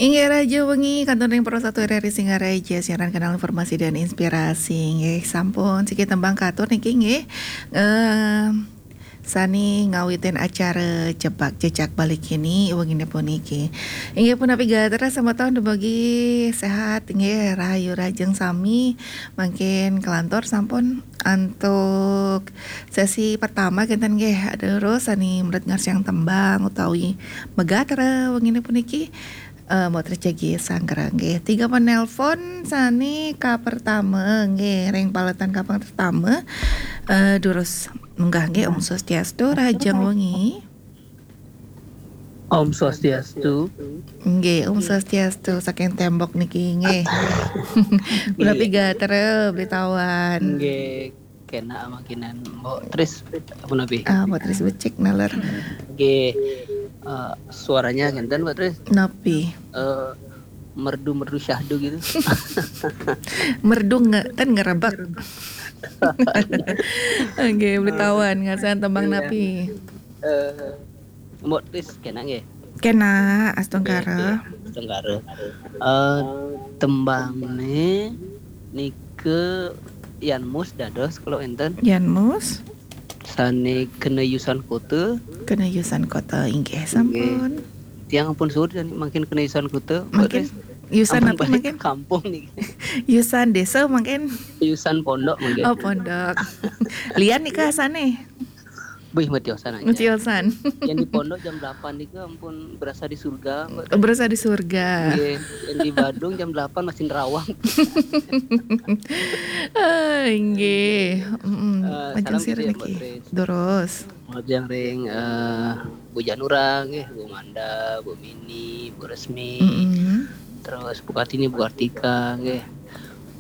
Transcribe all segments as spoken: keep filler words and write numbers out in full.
Inggih, rahajeng wengi, kantun ring Pro Satu R R I Singaraja, siaran kanal informasi dan inspirasi. Inggih, sampun siki tembang katur niki, nggih. Eh, sani ngawitin acara Jebak Jejak Bali Kini wengine puniki. Inggih punapi gatra semeton, dumugi sehat, inggih, rahayu rahajeng sami. Mangkin kelantur sampun antuk sesi pertama kenten, nggih. Terus sani meret ngarsiang tembang utawi magatra wengine puniki, eh, Mbok Tris jagi sanggra, nggih. Tiga penelpon sani kapertama, nggih, ring paletan kaping pertama. Eh, durus munggah, nggih. Om Swastiastu, rahajeng wengi. Om Swastiastu. Nggih, Om Swastiastu, saking tembok niki, nggih. Punapi gatra, Beli Tawan? Nggih, kena amakinan Mbok Tris, punapi? Ah, Mbok Tris becik naler. Nggih, eh, suaranya ngenten, Mbok Tris. Napi? Eh, merdu-merdu syahdu gitu. Merdu nge-, ten ngerebek. Nggih, Beli Tawan, ngarsiang tembang napi? Eh, Mbok Tris kena nggih? Kena, astungkara. Nggih, astungkara. Eh, tembangne nika Yan Mus dados kalau enten. Yan Mus? Sane kena yusan kota. Kena yusan kota, inggih, sampun. Tiang ampun suwun sane mangkin kena yusan kota, Mbok Tris. Yusan ampun apa balik mangkin? Kampung niki. Yusan desa mangkin? Yusan pondok mangkin. Oh, pondok. Lian nika asane? Wih, metiosan aja. Metiosan. Yang di pondok jam delapan niku ampun berasa di surga, Mbok. Berasa di surga. Nggih, yang di Badung jam delapan masih nerawang. Ah, nggih. Mm-mm. Eh, lajeng salam sira niki, Mbok Tris. Durus. Lajeng ring, eh, Bu Janura nggih, Bu Manda, Bu Mini, Bu Resmi. Mm-mm. Terus Bu Kartini, Bu Kartika nggih.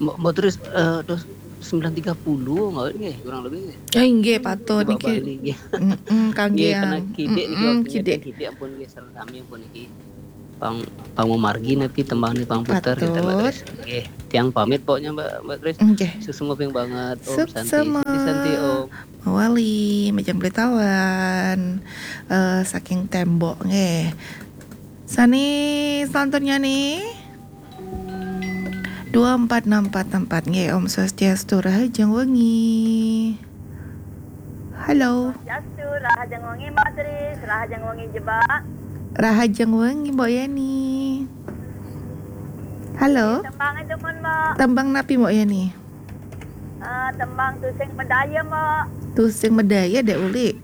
Mbok, Mbok Tris, eh, terus sembilan tiga puluh nggih, kurang lebih nggih. Eh, inggih, patut niki. Bali nggih. Mm-mm, kangge nggih, kena kidik niki, mm-mm, waktu kidik. Kidik ampun nggih, sareng sami ampun niki. Pang, pang mamargi niki tembang niki pang puter, gitu, Mbok Tris. Patut. Nggih, tiang pamit pokoknya, Mbok, Mbok Tris. Nggih. Suksma banget, Om Santi. Suksma. Santi, Santi, Om. Mawali, majeng Beli Tawan. Eh, saking tembok nggih. Sane selanjutnya nih. Dua empat enam empat empat nggih, Om Swastiastu, rahajeng wengi. Halo. Swastiastu, rahajeng wengi, Mbok Tris, rahajeng wengi, Jebak. Rahajeng wengi, Mbok Yani. Halo. Tembang aja, mon, Mbok. Tembang napi, Mbok Yani? Eh, tembang Tusing Medaya, Mbok. Tusing Medaya, Dek Uli.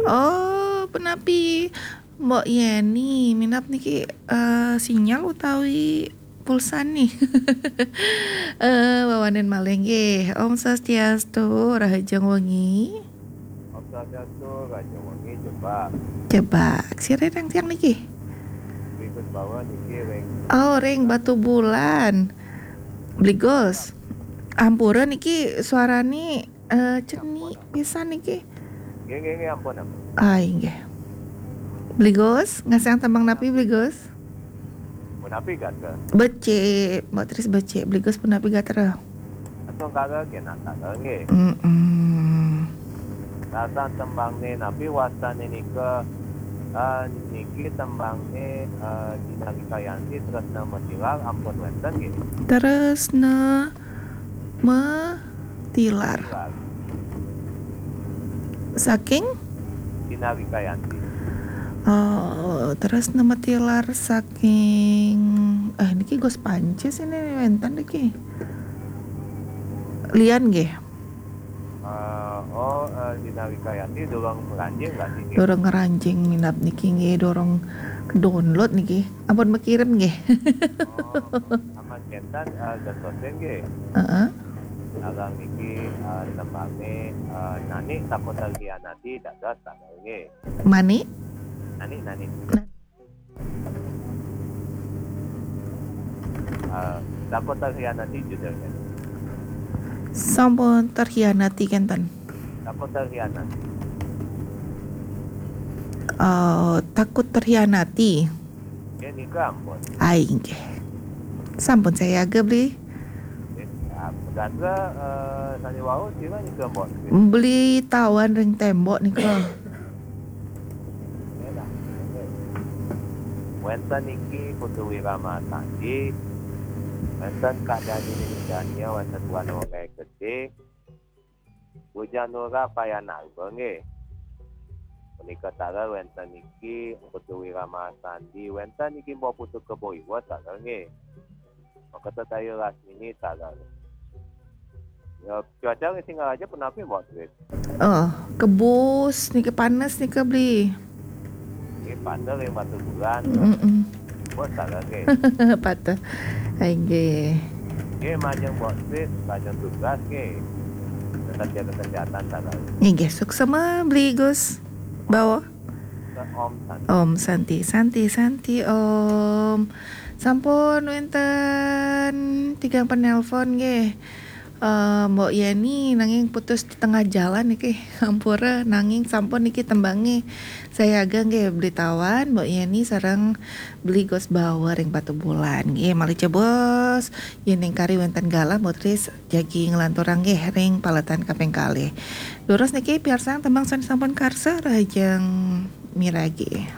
Oh, punapi? Mbok Yeni, minab niki, eh, sinyal utawi pulsa nih? Eh, wawanen malih nggih. Om Swastiastu, rahajeng wengi. Om Swastiastu, rahajeng wengi, Jebak. Jebak. Sira ring tiang niki? Bli Gus Bawa niki ring. Oh, ring Batubulan. Bli Gus. Ampura niki suarane, eh, cenik pisan niki. Nggih, nggih, nggih, ampun, ampun. Ah, inggih. Bli Gus, ngarsiang tembang napi, Bli Gus? Punapi gatra? Becik, Mbok Tris becik. Bli Gus punapi gatra? Astungkara, kena tanggal nggih. Mm-mm. Rasa tembangne napi wastane nika, eh, niki tembangne, eh, Dina Wikayanti, Tresna Metilar, ampun wenten nggih. Tresna Metilar. Tilar. Saking? Dina Wikayanti. Oh, Tresna Metilar saking, eh, niki Gus Pancis ini wenten niki. Lian nggih. Eh, oh, eh, Dina Wikayanti durung ngranjing berarti nggih. Durung ngranjing minab niki nggih, durung download niki. Ampun mekirim nggih. Oh, aman kenten, eh, gatosin nggih. Heeh. Sareng niki, eh, tembangne, eh, Nani Takut Terhianati dados tanggal nggih. Mani? Nani, Nani. Na- Eh, Takut Terhianati judulnya. Sampun terhianati kenten. Takut Terhianati. Eh, Takut Terhianati. Nggih, nika ampun. Ah, inggih. Sampun sayaga, Bli. Nggih, ya, gatra, eh, sane wau sira nika, Mbok? Beli Tawan ring tembok nika. Nggih lah. Nggih. Wénten niki Putu Wira Masandi, wénten Kak Dani Dania, wénten Buana Wongai Gedé, Bujang Nura Payan Alba nggih. Punika taler wénten niki Putu Wira Masandi, wénten niki Mbok Putu Kebo Iwa taler nggih. Maketa Dayu Rasmini taler. Ya, cuaca ring Singaraja punapi, Mbok Tris? Oh, kebus niki panes nika beli. Nggih, pater ring Batubulan. Mm-mm. Bos taler nggih. Pater. Inggih. Nggih, majeng Mbok Tris, majeng tugas nggih. Tetap jaga kesehatan taler. Inggih, suksema beli Gus. Bawa. Ke Om Santi. Om Santi, Santi, Santi, Om. Sampun wénten tigang penelpon nggih. Eh, Mbok Yeni nanging putus di tengah jalan niki. Ampura nanging sampun niki tembangé. Sayaga nggih beli tawan Mbok Yeni sareng beli Gus Bawa ring Batubulan. Nggih, malih cebos. Yén ing kari wénten galah Mbok Tris jagi nglanturang nggih ring paletan kaping kalih. Durus niki piarsang tembang sané sampun karsa rahajeng miragi.